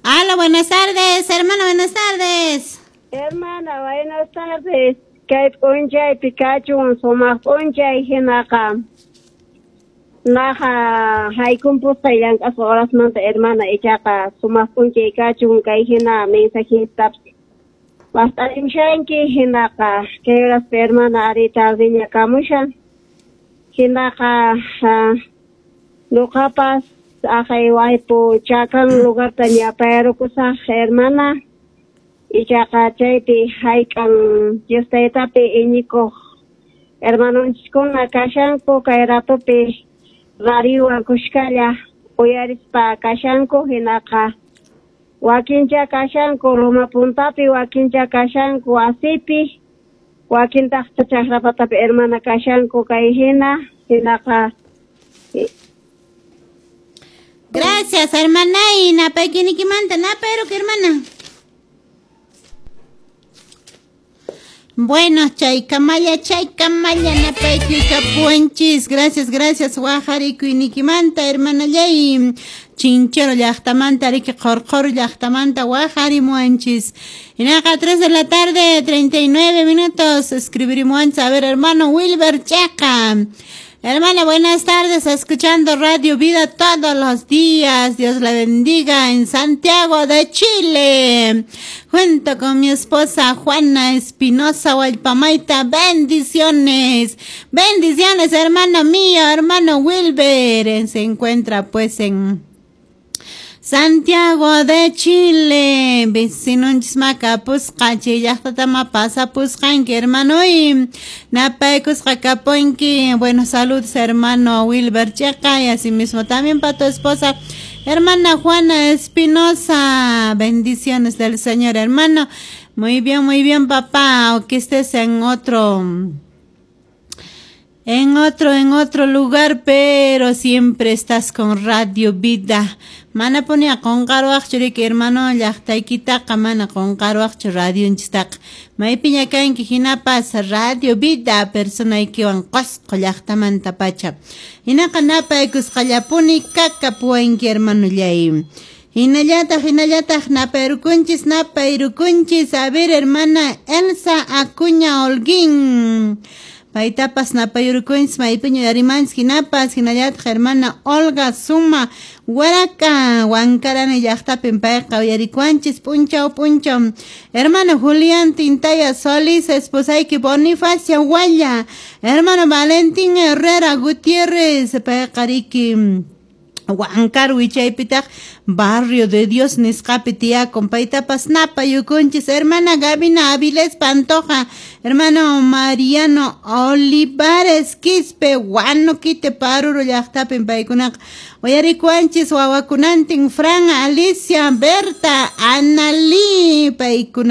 Hola, buenas tardes, hermana, buenas tardes. Hermana, buenas tardes. Kay p'unchaypi kachun sumaq p'unchay hinaqa naqa haykumpusqay llank'asqa horasmanta hermana ichaqa sumaq p'unchay kachun kay hina mensajitapas waqt'arimushanki hinaqa kay horaspi hermana ari tardeña kamushan hinaqa nuqapas aqay waypu chakan lugarta ñapayrukusaq hermana ichaqa chaypi hayk'an Dios taytapi iñikuq hermanonchiskuna kashanku kay ratupi radiowan kushkalla uyarispa kashanku hinaqa wakincha kashanku Loma Puntapi wakincha kashanku wasipi wakintaq chakrapatapi hermana kashanku kay hina hinaqa. Gracias, hermana. Y napaykinikimanta napayruki hermana. Bueno, chaykamalla napaykukapuwanchis. Gracias, gracias, wajarikuynikimanta, hermanallay. Chinchero llaqtamanta, riki qorqor llaqtamanta wajarimuwanchis. Hinaqa 3 de la tarde, 39 minutos, escribirimuwanchis. A ver, hermano Wilber Checa. Hermana, buenas tardes, escuchando Radio Vida todos los días. Dios la bendiga en Santiago de Chile. Junto con mi esposa Juana Espinosa Hualpamaita. Bendiciones. Bendiciones, hermano mío, hermano Wilber. Se encuentra pues en Santiago de Chile, vecinonchis makapusqa chay llaqtatama pasapusqanki hermano y napaykusqa kapunki. Bueno, saludos hermano Wilber Checa y asimismo también para tu esposa hermana Juana Espinosa. Bendiciones del Señor, hermano. Muy bien, papá, o que estés en otro lugar, pero siempre estás con Radio Vida. Mana punia qunqaruwaqchu riki hermano llaqtaykitaqa mana qunqaruwaqchu radionchistaqa. Maypiña kanki hinapas Radio Vida personaykiwan Qosqo llaqtamanta pacha. Hinaqa napaykusqallapuni kakapuwanki hermanollay. Hinallataq napayrukunchis napayrukunchis. A ver, hermana Elsa Acuña Holguín. Paitapas napayurukunchis maypiña uyarimanchis hinapas hinallataq hermana Olga Suma Huaraca Huancarani llaqtapin payqa uyarikuanchis p'unchaw p'unchaw. Hermano Julián Tintaya Solís, esposayki Bonifacia Hualla, hermano Valentín Herrera Gutiérrez, payqa riki Huancar wichaypitaq Barrio de Dios nisqapi tiyakun paytapas napayukunchis. Hermana Gabina Avilés Pantoja, hermano Mariano Olivares Quispe, Huanoquite Paruro llaqtapin paykunaqa uyarikuanchis wawakunantin Fran, Alicia, Berta, Analí paykuna.